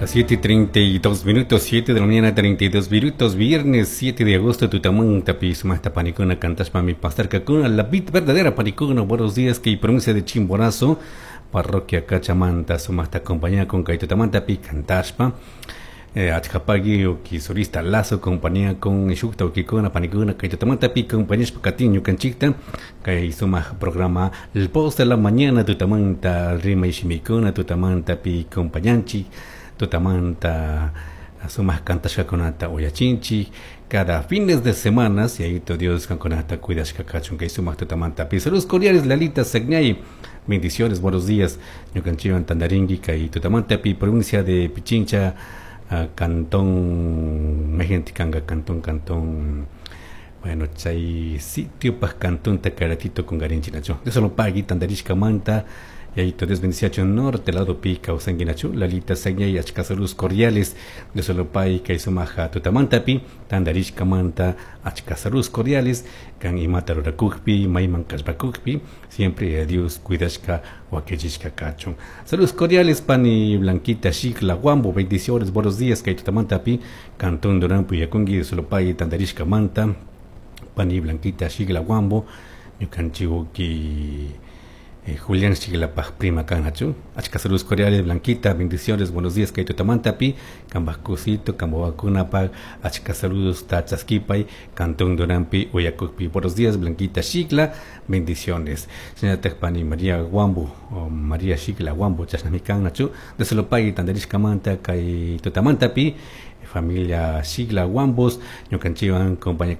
Las 7:32 minutos, 7 de la mañana, 32 minutos, viernes 7 de agosto, tutamanta pi sumajta panikuna cantashpami pasarkakuna, la bit verdadera panikuna, buenos días, que provincia de Chimborazo, parroquia Cachamanta, sumajta compañía con kay tutamanta pi cantashpa. Achkapagui uki solista Lazo compañía con shukta ukikuna panikuna kay tutamanta pi compañía katin ñukanchikta kay sumaq programa El Post de la Mañana tutamanta rimay shimikuna tutamanta pi compañanchik tutamanta sumaq kantashkakunata uyachinchik cada fines de semana si Yayito Dios kankunata cuidashka kachun kay sumaq tutamanta pi. Saludos cordiales, Lalita Sagnay, bendiciones, buenos días, ñukanchikwan tantarinki kay tutamanta pi, provincia de Pichincha, cantón mayqintik kanka cantón, bueno, chay sitio paj cantonta karatito kungarinchik nachu. Dios lo pagui tantarishkamanta, Yayito Dios bendiciachun, norte lado pi kawsanki nachu, Lalita Sagnay, achka saludos cordiales, Dios lo pagui kay sumaja tutamantapi tantarishkamanta, achka saludos cordiales, kan imata rurakukpi, mayman kallpakukpi, siempre Dios cuidashka wakichishka kachun. Saludos cordiales, pani Blanquita Xicla Guambo, bendiciones, buenos días, kay tutamantapi, cantón Durán Puyakungi, Dios lo pagui tantarishkamanta, pani Blanquita Xicla Guambo, ñukanchik uki Julián Xiclapaj prima kanachu. Achka saludos cordiales, Blanquita, bendiciones, buenos días, kay tutamantapi, kambaj kusito, kambawakunapaj, achka saludos, tachaskipay, cantón Durampi, Uyakukpi. Buenos días, Blanquita Xicla, bendiciones. Señora pani María Guambo, o María Xicla Guambo, chashnami kanachu, Dios lo pagui tantarishkamanta, kay tutamantapi, familia Xicla Guambos, ñukanchikwan compañía.